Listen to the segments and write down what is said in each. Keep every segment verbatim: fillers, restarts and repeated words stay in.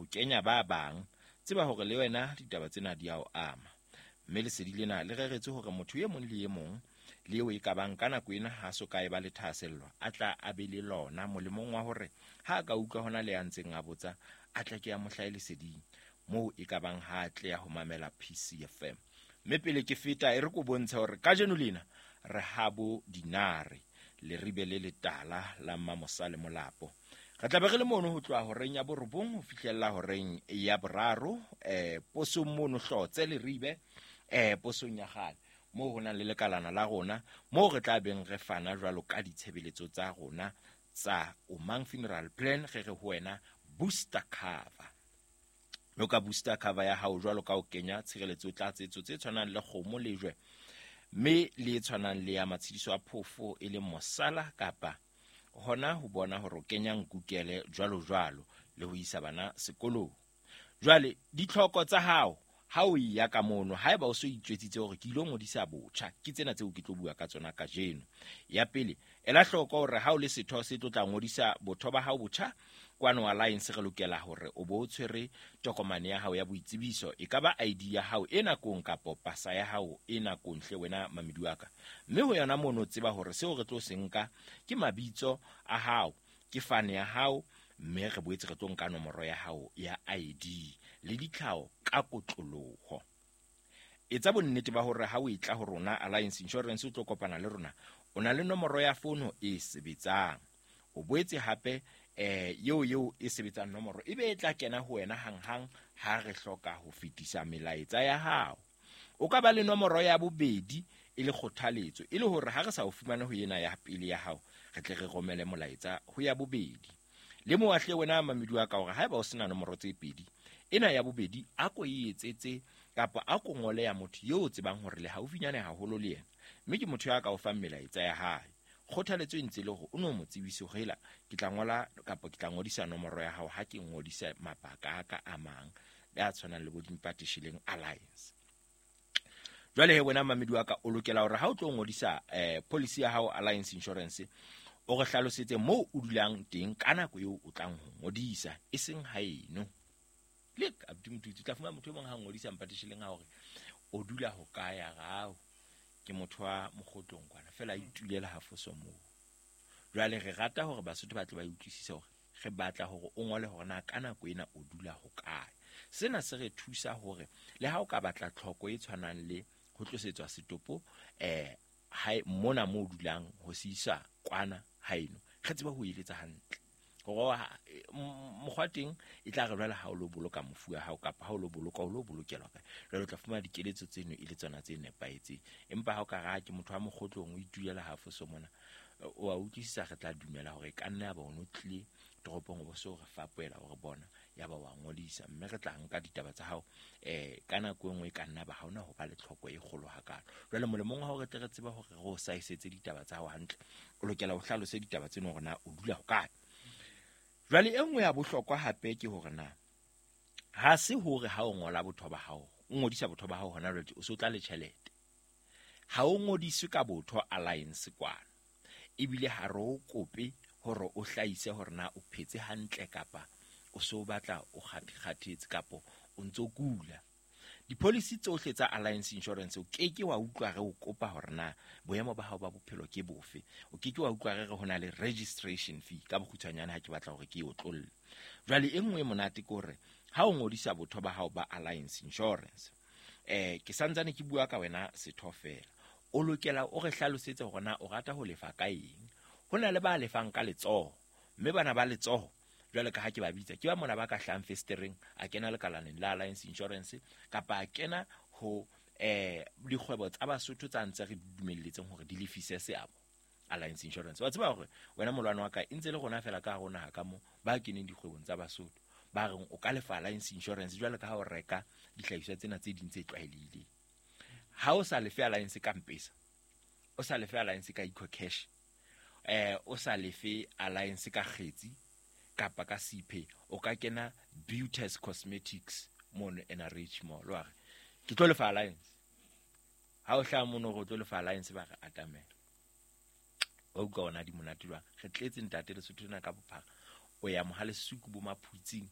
kenya ba bang, tseba hore le wena ditaba tsena di a o ama. Mme lesedi lena le reretswe hore motho e mong le e mong le eo e ka bang ka nako ena ha so ka e ba le thahasello, a tla a be le lona molemong wa hore ha a ka utlwa hona le ya ntseng a botsa, a tla ke a mo hlahe leseding moo e ka bang ha a tleha ho mamela P C F M. Mme pele ke feta e re ko bontshe hore kajeno lena re habo dinare leribe le letala la Mmamosa le Molapo. Re tla be re le mono ho tloha horeng ya borobong ho fihlella horeng ya boraro, eh, posong mono Hlotse leribe, eh, posong ya kgale moo ho nang le lekalana la rona, moo re tla beng re fana jwalo ka ditshebeletso tsa rona tsa Omang Funeral Plan. Re re ho wena booster cover. Mme ka booster cover ya hao jwalo ka ho kenya tshireletso tlatsetso tse tshwanang le kgomo lejwe, mme le e tshwanang le ya matshediso a phofo e leng mosala, kapa hona ho bona hore o kenya nkukele jwalo jwalo le ho isa bana sekolong. Jwale ditlhoko tsa hao ha o ya ka mono, haeba o so itjwetsitse hore ke ilo ngodisa botjha, ke tsena tseo ke tlo bua ka tsona kajeno. Ya pele, ela hloko hore ha o le setho se tlo tla ngodisa botho ba hao botjha kwano Alliance, re lokela hore o bo o tshwere tokomane ya hao ya boitsebiso, e ka ba I D ya hao e nakong kapa pasa ya hao e nakong hle wena mamedi wa ka. Mme ho yona mono tseba hore seo re tlo se nka ke mabitso a hao, ke fane ya hao, mme re boetse re tlo nka nomoro ya hao ya I D le ditlhao ka kotloloho. Etsa bonnete ba hore ha o etla ho rona Alliance Insurance o tlo kopana le rona, o na le nomoro ya fono e sebetsang. O boetse hape eh eo eo e sebetsang nomoro e be e tla kena ho wena hanghang ha re hloka ho fetisa melaetsa ya hao. O ka ba le nomoro ya bobedi e le kgothaletso, e le hore ha re sa o fumane ho ena ya pele ya hao, re tle re romele molaetsa ho ya bobedi. Le moahle wena mamedi wa ka hore haeba o sena nomoro tse pedi, ena ya bobedi a ko e etsetse kapa a ko ngole ya motho eo o tsebang hore le haufinyane haholo le yena, mme ke motho ya ka o fang melaetsa ya hae. Kgothaletso e ntse le hore o no mo tsebise hore hela ke tla ngola kapa ke tla ngodisa nomoro ya hao ha ke ngodisa mabaka a ka a mang a tshwanang le bo Dimpatishileng Alliance. Jwale he wena mamedi wa ka, o lokela hore ha o tlo ngodisa eh policy ya hao Alliance Insurance, o re hlalosetse moo o dulang teng ka nako eo o tlang ho ngodisa, e seng haeno. Le abuti motho o tla fumana motho e mong ha ngodisa Mpatisheleng ha hore o dula ho kae ya hao, ke motho wa Mokgotlong kwana fela a itulela ha foso moo. Jwale re rata hore Basotho ba tle ba utlwisise hore re batla hore o ngole hore na ka nako ena o dula ho kae. Sena se re thusa hore le ha o ka batla tlhoko e tshwanang le ho tlosetswa setopo eh hae mona mo o dulang ho se isa kwana haeno, re tsebe ho eletsa hantle hore mokgwa teng e tla re jwale ha o lo boloka mofu wa hao kapa ha o lo boloka o lo bolokelwa kae. Jwale o tla fumana dikeletso tseno e le tsona tse nepahetseng. Empa ha o ka ra ke motho wa Mokgotlong o itulela ha foso mona, o a utlwisisa, re tla dumela hore e ka nna ya ba o no tlile toropong o bo so re fapoela hore bona ya ba wa ngodisa, mme re tla nka ditaba tsa hao eh ka nako e nngwe e ka nna ba ha ona ho ba le tlhoko e kgolo hakalo. Jwale molemong wa hore re tle re tsebe hore re o saesetse ditaba tsa hao hantle, o lokela ho hlalose ditaba tseno hore na o dula ho kae. Jwale e nngwe ya bohlokwa hape ke hore na ha se hore ha o ngola botho ba hao, o ngodisa botho ba hao hona jwale o so tla le tjhelete. Ha o ngodiswe ka botho Alliance kwana, ebile ha re o kope hore o hlahise hore na o phetse hantle kapa o so batla o kgathetse kapa o ntso kula. Dipolisi tsohle tsa Alliance Insurance o ke ke wa utlwa re o kopa hore na boemo ba hao ba bophelo ke bofe. O ke ke wa utlwa re re hona le registration fee ka bokgutshwanyane ha ke batla hore ke e otlolle. Jwale e nngwe e monate ke hore ha o ngodisa botho ba hao ba Alliance Insurance, eh ke santsane ke bua ka wena setho fela, o lokela o re hlalosetse hore na o rata ho lefa ka eng. Ho na le ba lefang ka letsoho, mme bana ba letsoho jwale ka ha ke ba bitsa ke ba mona ba ka hlang festereng a kena lekalaneng la Alliance Insurance kapa a kena ho eh dikgwebo tsa Basotho tsa ntse re dumelletseng hore di lefise seabo Alliance Insurance. Wa tseba hore wena molwana wa ka e ntse le rona fela ka rona ha ka mo ba keneng dikgwebong tsa Basotho ba reng o ka lefa Alliance Insurance jwale ka ha o reka dihlahiswa tsena tse ding tse tlwaelehileng. Ha o sa lefe Alliance ka M-Pesa, o sa lefe Alliance ka EcoCash, eh o sa lefe Alliance ka kgetsi kapa ka C P, o ka kena Beauties Cosmetics mono N R H Mall wa re ke tlo lefa Alliance. Ha o hlaha mono hore o tlo lefa Alliance ba re atamela. Wa utlwa ona di monate jwang? Re tletse ntate Lesotho lena ka bophara. O ya Mohalesuku bo Maphutsing,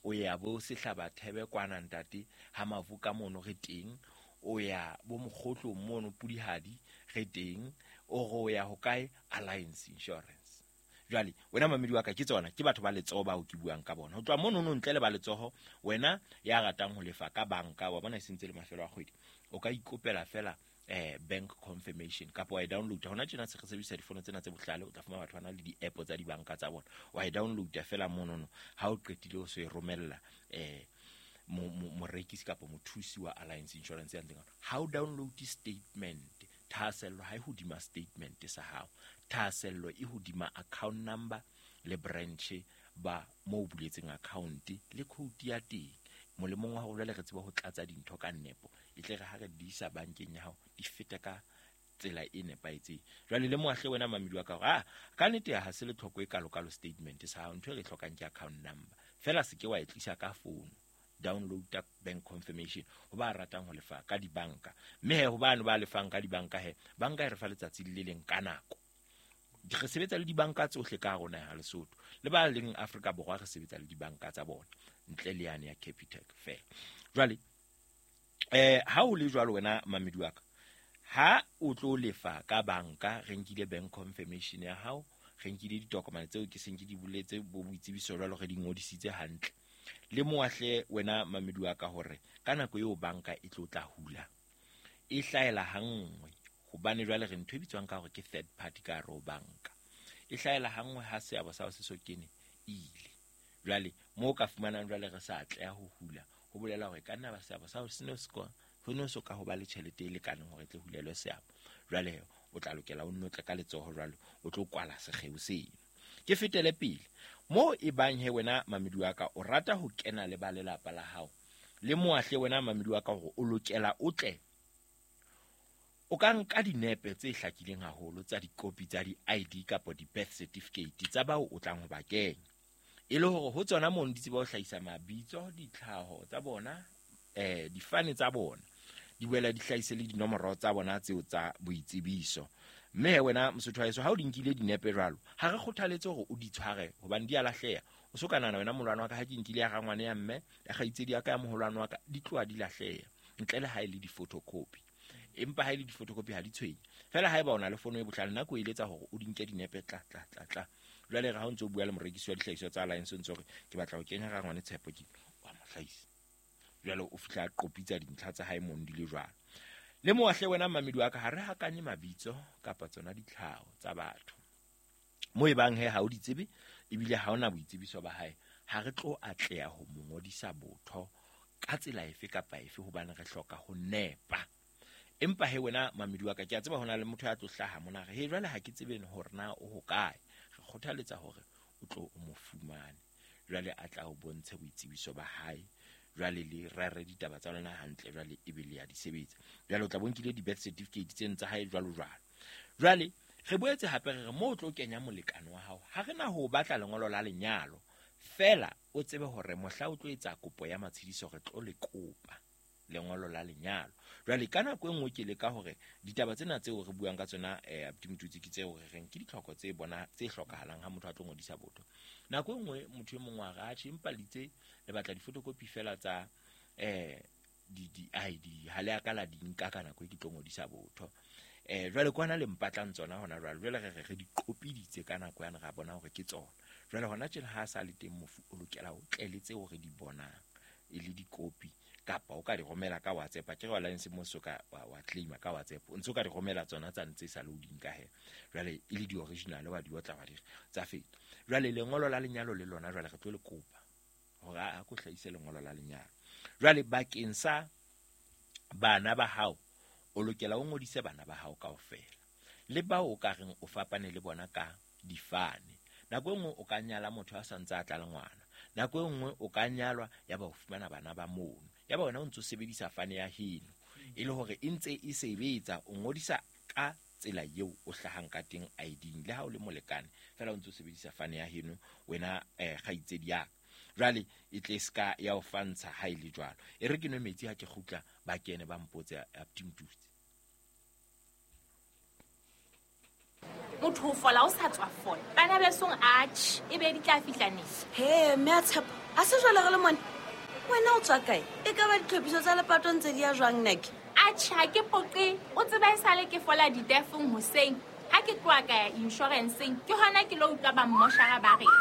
O ya bo Sehlabathebe kwana ntate ha Mavuka mono re teng, o ya bo Mokgotlong mono Pudihadi re teng, o re o ya hokae Alliance Insurance. Jwale wena mamedi wa ka, ke tsona ke batho ba letsoho bao ke buang ka bona. Ho tloha mono no ntle le ba letsoho, wena ya ratang ho lefa ka banka, wa bona e sentse le mafelo a kgwedi, o ka ikopela fela eh bank confirmation kapa wa e download. Hona tjena se re sebedisa difono tsena tse bohlale, o tla fumana batho ba na le di-app tsa dibanka tsa bona, wa e download fela monono. Ha o qetile o so e romella eh morekisi kapa mothusi wa Alliance Insurance ya ntseng. Ha o download statement, thahasello ha e hodima statement sa hao, thahasello e hodima account number le branch ba mo buletseng account le code ya teng. Molemong wa hore jwale re tsebe ho tlatsa dintho ka nepo, e tle re ha re di isa bankeng ya hao di feta ka tsela e nepahetseng. Jwale le moahle wena mamedi wa ka hore ah ka nnete ha se le tlhoko e kalokalo statement sa hao, ntho e re hlokang ke account number fela, se ke wa e tlisa ka phone. Download bank confirmation ho ba ratang ho lefa ka dibanka, mme he ho bano ba lefang ka dibanka, he banka e re fa letsatsi le leng ka nako. Re sebetsa le dibanka tsohle ka rona ya Lesotho le ba leng Afrika Borwa, re sebetsa le dibanka tsa bona ntle le yane ya Capitec fela. Jwale eh ha o le jwalo wena mamedi wa ka, ha o tlo lefa ka banka, re nkile bank confirmation ya hao, re nkile ditokomane tseo ke seng ke di boletse bo boitsebiso jwalo, re di ngodisitse hantle. Le moahle wena mamedi wa ka hore ka nako eo banka e tlo tla hula e hlahela hanngwe, hobane jwale re ntho e bitswang ka hore ke third party ka hare ho banka, e hlahela hanngwe ha seabo sa se so kene ile. Jwale mo ka fumanang jwale re sa atleha ho hula, ho bolela hore ka nna ba seabo sa se no se ho no so ka ho ba le tjhelete e lekaneng hore tle hulelwe seabo. Jwale o tla lokela o nno tle ka letsoho jwale o tlo kwala sekgeo seno. Ke fetele pele mo e bang he wena mamedi wa ka o rata ho kena le ba lelapa la hao, le moahle wena mamedi wa ka hore o lokela o tle o ka nka dinepe tse hlakileng haholo tsa dikopi tsa di-I D kapa di-birth certificate tsa bao o tlang ho ba kenya, e le hore ho tsona mono di tseba ho hlahisa mabitso, ditlhaho tsa bona, eh difane tsa bona, di boela di hlahise le dinomoro tsa bona tseo tsa boitsebiso. Mme wena Mosotho wa heso, ha o di nkile dinepe jwalo, ha re kgothaletse hore o di tshware hobane di a lahleha. O so ka nahana wena molwana wa ka, ha ke nkile ya rangwane ya mme ya kgaitsedi ya ka ya moholwane wa ka, di tloha di lahleha ntle le ha e le di-photocopy. Empa ha e le di-photocopy ha di tshwenye fela. Haeba o na le fono e bohlale, nako e eletsa hore o di nke dinepe tla tla tla tla. Jwale re ha o ntso bua le morekisi wa dihlahiswa tsa Alliance, o ntso re ke batla ho kenya rangwane Tshepo, ke wa mo hlahisa. Jwale o fihla a qopitsa dintlha tsa hae mono di le jwalo. Le moahle wena mamedi wa ka, ha re hakanye mabitso kapa tsona ditlhaho tsa batho mo e bang he ha o di tsebe ebile ha ona boitsebiso ba hae, ha re tlo atleha ho mo ngodisa botho ka tsela efe kapa efe, hobane re hloka ho nepa. Empa he wena mamedi wa ka, ke a tseba hona le motho ya tlo hlaha mona re he jwale ha ke tsebe hore na o hokae, re kgothaletsa hore o tlo o mo fumane, jwale a tla o bontshe boitsebiso ba hae, jwale le rere ditaba tsa lona hantle, jwale ebe le ya di sebetsa. Jwale o tla bonkile di-birth certificate tseno tsa hae jwalo jwalo. Jwale re boetse hape re re mo o tlo kenya molekane wa hao, ha re na ho batla lengolo la lenyalo fela, o tsebe hore mohla o tlo etsa kopo ya matshediso re tlo le kopa lengolo la lenyalo. Jwale ka nako e nngwe ke leka hore ditaba tsena tseo re buang ka tsona eh Abuti Motutsi ke tseo re reng ke ditlhoko tse bona tse hlokahalang ha motho a tlo ngodisa botho. Nako e nngwe motho e mongwe a re atjhe empa litse le batla di-photocopy fela tsa eh di di I D, ha le a ka la di nka ka nako e ke tlo ngodisa botho. Eh jwale kwana le mpatlang tsona hona jwale, jwale re re re di qopiditse ka nako yane, ra bona hore ke tsona. Jwale hona tjena ha sa le teng mofu o lokela ho tle le tseo re di bonang e le dikopi, kapa o ka di romela ka WhatsApp. Ke re Alliance mo so ka wa, wa claima ka WhatsApp, o ntso ka di romela tsona tsa ntse sa le o di nka he, jwale e le di original wa di otla wa di tsa feta. Jwale lengolo la lenyalo le lona jwale re tlo le kopa hore a ko hlahise lengolo la lenyalo. Jwale bakeng sa bana ba hao, o lokela o ngodise bana ba hao kaofela le bao o ka reng o fapane le bona ka difane. Nako e nngwe o ka nyala motho a sa ntse a tla le ngwana, nako e nngwe o ka nyalwa ya ba o fumana bana ba mono, ya ba wena o ntso sebedisa fane ya heno e le hore e ntse e sebetsa. O ngodisa ka tsela eo o hlahang ka teng I D-ing, le ha o le molekane fela o ntso sebedisa fane ya heno wena eh kgaitsedi ya ka. Jwale e tle ska ya o fantsha ha e le jwalo. E re ke nwe metsi ha ke kgutla ba kene ba mpotse Abuti Motutsi. Motho o fola o sa tswa fola. Bana besong atjhe, e be di tla fihla neng? He, mme a Tshepo, a se jwale re le mone. Wena o tswa kae? E ka ba ditlhophiso tsa lepato ntse di ya jwang nake? Atjhe, ha ke poqe. O tseba e sale ke fola ditefong hoseng. Ha ke tloha ka ya insurance-eng, ke hona ke lo utlwa ba mmoshara ba reng.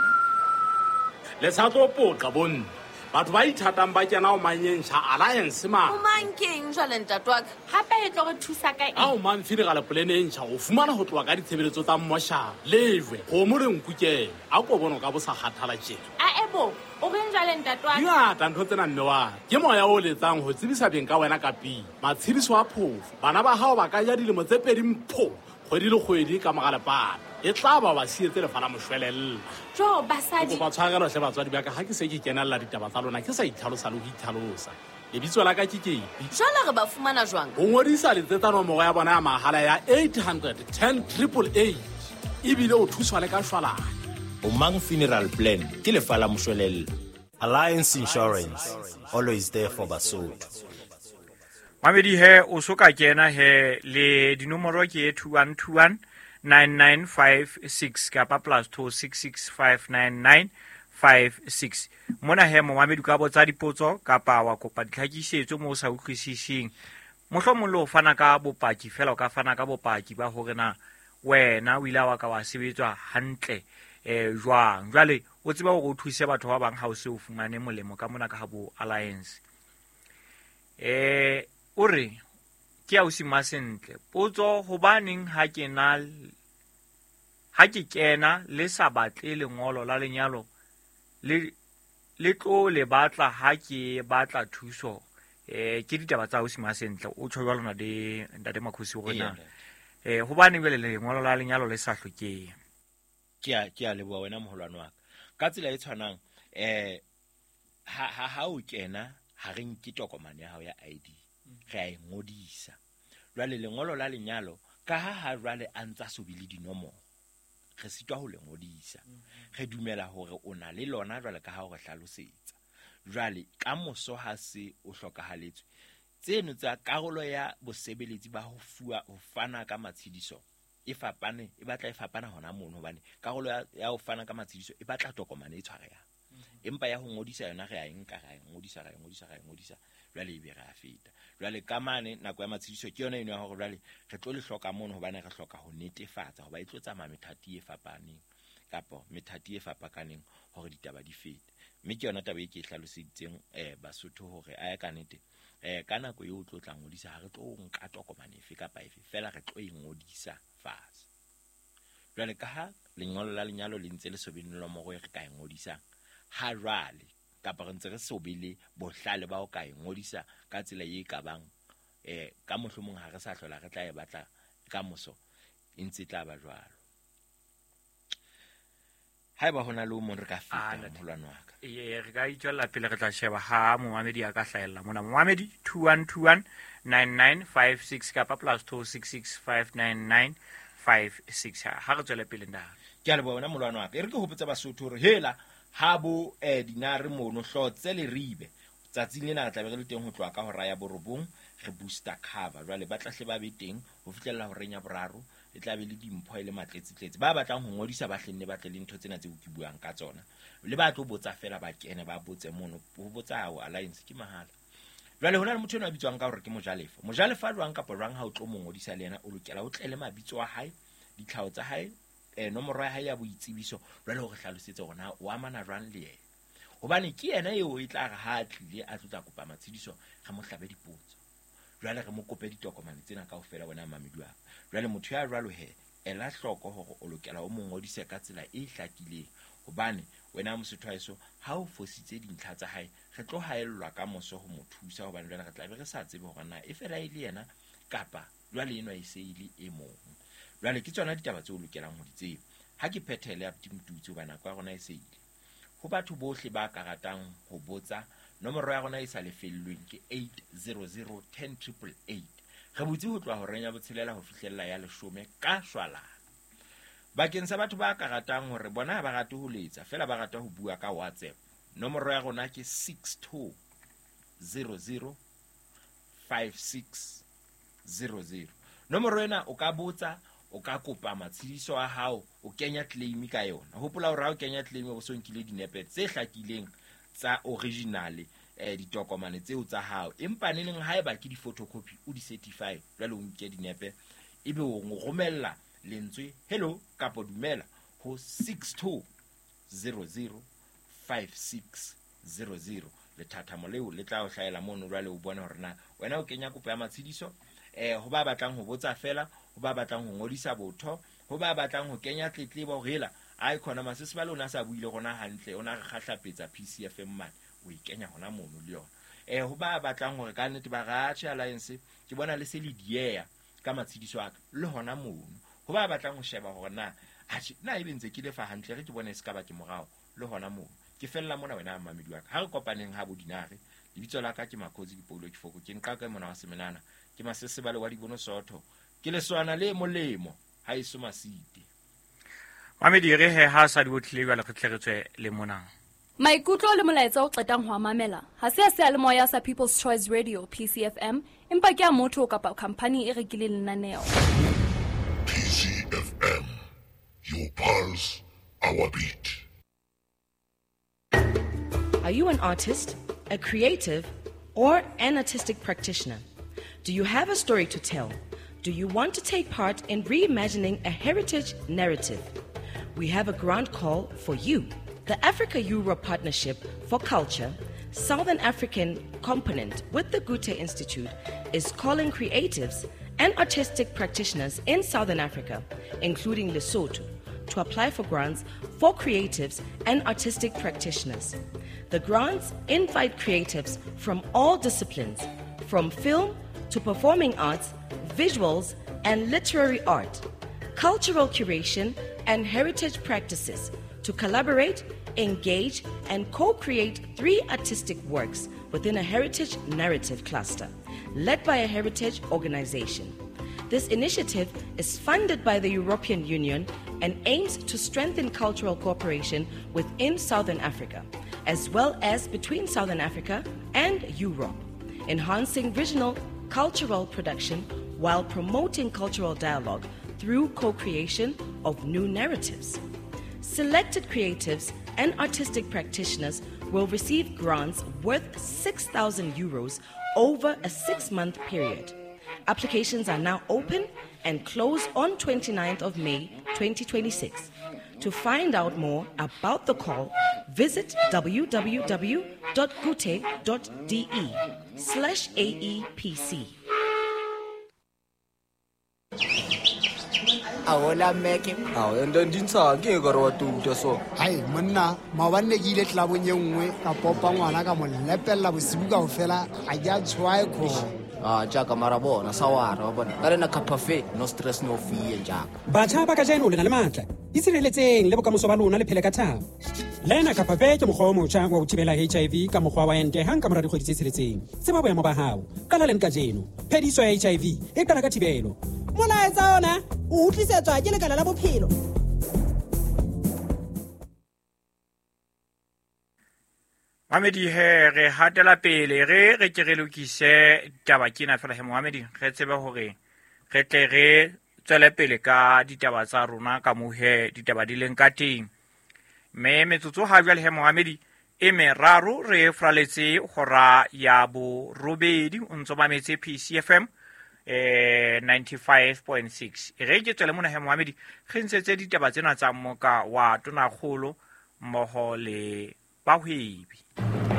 Le sa tlo poqa bonne. Batho ba ithatang ba kena ho manyentjha Alliance ma. O mang keng jwale ntate wa ka? Hape e tlo re thusa ka eng? Ha o mang funeral plan e ntjha o fumana ho tloha ka ditshebeletso tsa mmoshara. Lejwe, kgomo le nku kena. A ko bone o ka bo sa kgathala tjena. A ebo, o reng jwale ntate wa ka? Di ngata ntho tsena mme wa. Ke moya o letsang ho tsebisa beng ka wena ka pele. Matshediso a phofo. Bana ba hao ba ka ja dilemo tse pedi mpho. Kgwedi le kgwedi ka mora lepato. E tla ba ba sietse lefa la moshwelella. Jo, basadi. Ke kopa tshwarelo hle batswadi ba ka ha ke se ke kenella ditaba tsa lona ke sa itlhalosa le ho itlhalosa. Lebitso la ka ke Kepi. Jwale re ba fumana jwang? Ho ngodisa letsetsa nomoro ya bona ya mahala ya eight hundred ten triple eight. Ebile o thuswa le ka shwalane. Omang Funeral Plan ke lefa la moshwelella. Alliance Insurance, always there for Basotho. Mamedi he o so ka kena he le dinomoro ke two one two one nine nine five six kapa plus two six six five nine nine five six. Mona he momamedi ka botsa dipotso kapa wa kopa ditlhakisetso mo o sa utlwisising. Mohlomong le ho fana ka bopaki fela o ka fana ka bopaki ba hore na wena o ile wa ka wa sebetswa hantle eh jwang. Jwale o tseba hore o thuse batho ba bang ha o se o fumane molemo ka mona ka ha bo Alliance. Eh o re ke ausi Masentle potso hobaneng ha ke na ha ke kena le sa batle lengolo la lenyalo le le tlo le batla ha ke batla thuso. Eh ke ditaba tsa ausi Masentle o tjho jwalo na de ntate Makhosi hore na eh hobaneng jwale lengolo la lenyalo le sa hlokeng. Ke a ke a leboha wena moholwane wa ka. Ka tsela e tshwanang eh ha ha ha o kena ha re nke tokomane ya hao ya I D re a e ngodisa. Jwale lengolo la lenyalo ka ha ha jwale a ntsa so bile dinomoro re sitwa ho le ngodisa. Re dumela hore o na le lona jwale ka ha o re hlalosetsa. Jwale ka moso ha se o hlokahaletswe tseno tsa karolo ya bosebeletsi ba ho fuwa ho fana ka matshediso e fapane e batla e fapana hona mono hobane karolo ya, ya ho fana ka matshediso e batla tokomane e tshwarehang. Empa ya ho ngodisa yona re a e nka ra e ngodisa ra e ngodisa ra e ngodisa jwale e be re a feta. Jwale ka mane nako ya matshediso ke yona eno ya hore jwale re tlo le hloka mono hobane re hloka ho netefatsa hoba e tlo tsamaya methati e fapaneng kapa methati e fapakaneng hore ditaba di fete. Mme ke yona taba e ke e hlaloseditseng eh Basotho hore a ya ka nete eh ka nako eo o tlo tla ngodisa ha re tlo nka tokomane efe kapa efe fela re tlo e ngodisa fatshe. Jwale ka ha lengolo la lenyalo le ntse le so be le nomoro e re ka e ngodisang ha jwale kapa re ntse re so be le bohlale ba ho ka e ngodisa ka tsela e ka bang eh ka mohlomong ha re sa hlola re tla e batla ka moso e ntse tla ba jwalo. Haeba hona le o mong re ka feta moholwane wa ka. Ee re ka itswella pele re tla sheba ha momamedi a ka hlahella mona. Momamedi two one two one nine nine five six kapa plus two six six five nine nine five six. Ha re tswele pele nda. Ke a leboha wena moholwane wa ka. E re ke hopotsa Basotho hore hela ha bo eh dinare mono hlotse le ribe tsatsing lena re tla be re le teng ho tloha ka hora ya borobong re booster cover. Jwale ba tla hle ba be teng ho fihlella horeng ya boraro e tla be le dimpho e le matletsetletse. Ba batlang ho ngodisa ba hlenne ba tle le ntho tsena tseo ke buang ka tsona le ba tlo botsa fela ba kene ba botse mono ho botsa hao Alliance ke mahala. Jwale hona le motho eno a bitswang ka hore ke Mojalefa. Mojalefa jwang kapa jwang ha o tlo mo ngodisa le yena o lokela o tle le mabitso a hae ditlhao tsa hae eh nomoro ya hae ya boitsebiso jwale hore hlalosetse hore na o amana jwang le yena hobane ke yena eo e tla re ha tlile a tlo tla kopa matshediso re mo hlabe dipotso jwale re mo kope ditokomane tsena kaofela wena mamedi wa jwale motho ya jwalo he ela hloko hore o lokela o mo ngodise ka tsela e hlakileng hobane wena Mosotho haeso ha o fositse dintlha tsa hae re tlo haellwa ka moso ho mo thusa hobane jwale re tla be re sa tsebe hore na e fela e le yena kapa jwale enwa e se e le e mong. Jwale ke tsona ditaba tseo o lokelang ho di tseba. Ha ke phethele ya Motutsi hoba nako ya rona e se ile. Ho batho bohle ba ka ratang ho botsa nomoro ya rona e sa lefellweng ke eight zero zero ten triple eight. Re butse ho tloha horeng ya botshelela ho fihlella ya leshome ka shwalane. Bakeng sa batho ba ka ratang hore bona ha ba rate ho letsa fela ba rata ho bua ka WhatsApp. Nomoro ya rona ke six two zero zero five six zero zero. Nomoro ena o ka botsa o ka kopa matshidiso a hao o kenya claim ka yona. Hopola hore ha o kenya claim o so nkile dinepe tse hlakileng tsa original eh ditokomane tseo tsa hao, empa neneng haeba ke di-photocopy o di certify jwale o nke dinepe ebe o romella lentswe hello kapa dumela ho six two zero zero five six zero zero. Lethathamo leo le tla o hlahela mono jwale o bone hore na wena o kenya kopo ya matshidiso eh ho ba batlang ho botsa fela, ho ba batlang ho ngodisa botho, ho ba batlang ho kenya tletlebo hore hela ai khona masese ba lona sa buile rona hantle ona re kgahlapetsa P C F M mane o e kenya hona mono le yona. Eh ho ba batlang hore ka nnete ba ratjhe alliance ke bona le se le dieya ka matshidiso a ka le hona mono. Ho ba batlang ho sheba hore na atjhe na ebe ntse ke lefa hantle re ke bone se ka ba ke morao le hona mono. Ke fella mona wena mamedi wa ka ha re kopaneng ha bodinare. Lebitso la ka ke Makhosi Dipoulo ke Foko, ke nqaka mona wa semenana, ke masesebale wa dibono sotho, ke leswana le molemo ha eso masite. Mamedi re he ha sa di botlile jwale re tle re tswe le mona. Maikutlo le molaetsa o qetang ho a mamela ha se a seyalemoya sa People's Choice Radio P C F M, empa ke a motho kapa company e rekileng lenaneo. P C F M, your pulse, our beat. Are you an artist, a creative, or an artistic practitioner? Do you have a story to tell? Do you want to take part in reimagining a heritage narrative? We have a grant call for you. The Africa-Europe Partnership for Culture, Southern African component with the Goethe Institute, is calling creatives and artistic practitioners in Southern Africa, including Lesotho, to apply for grants for creatives and artistic practitioners. The grants invite creatives from all disciplines, from film to performing arts, visuals and literary art, cultural curation and heritage practices, to collaborate, engage, and co-create three artistic works within a heritage narrative cluster, led by a heritage organization. This initiative is funded by the European Union and aims to strengthen cultural cooperation within Southern Africa, as well as between Southern Africa and Europe, enhancing regional cultural production while promoting cultural dialogue through co-creation of new narratives. Selected creatives and artistic practitioners will receive grants worth six thousand euros over a six-month period. Applications are now open and close on twenty-ninth of May twenty twenty-six. To find out more about the call, visit www.goethe.de slash A E P C. Aola meke ao ndo ndintsha ke ka re wa tuta so hai monna maobane ke ile tlabong e nngwe ka popa ngwana ka mo lepella bosibu kaofela a ja tshwae kho ah jaaka mara bona sawara wa bona ka rena cafe no stress no fear jaaka batjha ba kajeno le na le matla itshireletseng le bokamoso ba lona le phele ka thabo. Lena Cafe ke mokgwa o motjha wa ho thibela H I V ka mokgwa wa ente hang ka mora dikgwedi tse tsheletseng. Tseba boemo ba hao. Qala leng kajeno. Phediso ya H I V e qala ka thibelo. Molaetsa ona o utlwisetswa ke lekala la bophelo. Mamedi he re hatela pele re re ke re lokise taba kena fela he Mohamedi re tsebe hore re tle re tswele pele ka ditaba tsa rona ka mohe ditaba di leng ka teng. Mme metsotso ha jwale he Mohamedi e meraro re fraletse hora ya borobedi o ntso mametse P C F M eh ninety-five point six. Re ke tswele mona he Mohamedi re ntshetse ditaba tsena tsa moka wa Tonakgolo mmoho le bahwebi.